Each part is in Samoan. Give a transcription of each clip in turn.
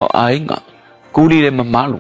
O aiga, kuli le mamalu,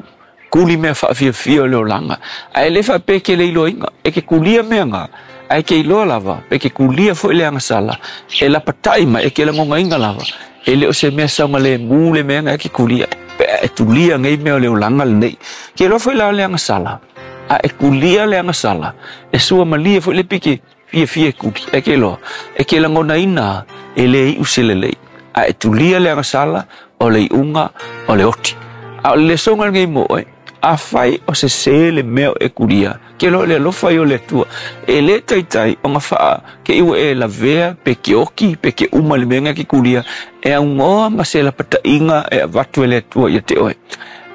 kuli mea faafiafia o le olaga, ae le faapea e ke le iloaina, e ke kulia mea na, ae ke iloa lava, pe ke kulia foi le agasala, e lapatai mai, e ke lagonaina lava, e le o se mea saogalemu le mea na e ke kulia, pe a e tulia nei mea o le olaga lenei. Ke iloa foi la o le agasala, a e kulia le agasala, e suamalie foi le pike fiafia e kuli, e ke iloa, e ke lagonaina e le iu se lelei. A e tulia le agasala, o le iuga o le oti. A o le lesoga lenei mo oe, afai o sesē le mea o e kulia, ke loa le alofa ia o le Atua, e lē taitai ona faa ke i ua e lavea pe ke oki pe ke uma i le mea na e ke kulia, e augoa ma se lapataʻiga e avatu e le Atua ia te oe.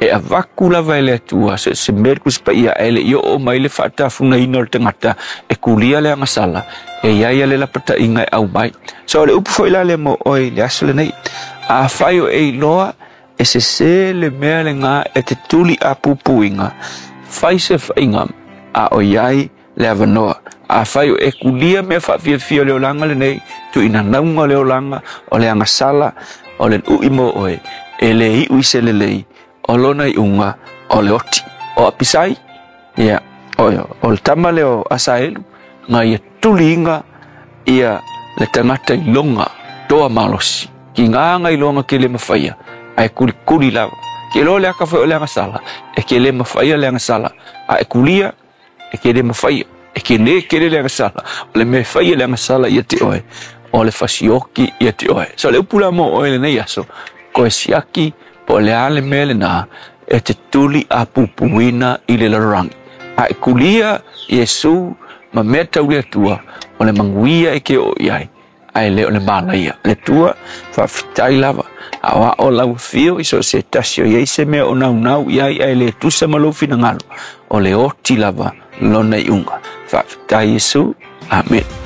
E avatu lava e le Atua so o se mea i le Tusi Paia, ae le i oo mai le faatafugaina o le tagata e kulia le agasala, e i ai le lapataʻiga e aumai. So o le upu foi la lea mo oe i le aso lenei, afai o e iloa e sesē le mea lena e te tuli apupuiga, fai se faiga a o i ai le avanoa. Afai o e kulia mea faafiafia o le olaga lenei, tuuinanauga o le olaga, o le agasala, o le uʻi mo oe, e lē iʻu i se lelei, o lona iuga o le oti. O Apisai, ia, o le tama lea o Asaelu, na ia tuliina ia le tagata iloga toa malosi. Kiga na iloga ke le mafaia, ae kulikuli lava. Ke iloa le aka foi o le agasala, e ke le mafaia le agasala, a e kulia, e ke le mafaia, e ke lē kele le agasala, o le mea e faia le agasala ia te oe, o le fasioki ia te oe. So le upu la mo oe lenei aso, koe siaki po o le a le mea lenā e te tuli apupuina i le lalolagi. A e kulia Iesu ma mea tau le Atua, o le manuia e ke oo i ai, ae le o le malaia. Le Atua, faafetai lava, a o ao lau afio i so o se tasi o i ai se mea o naunau i ai ae le tusa ma lou finagalo, o le oti lava lona iuga. Faafetai Iesu. Amene.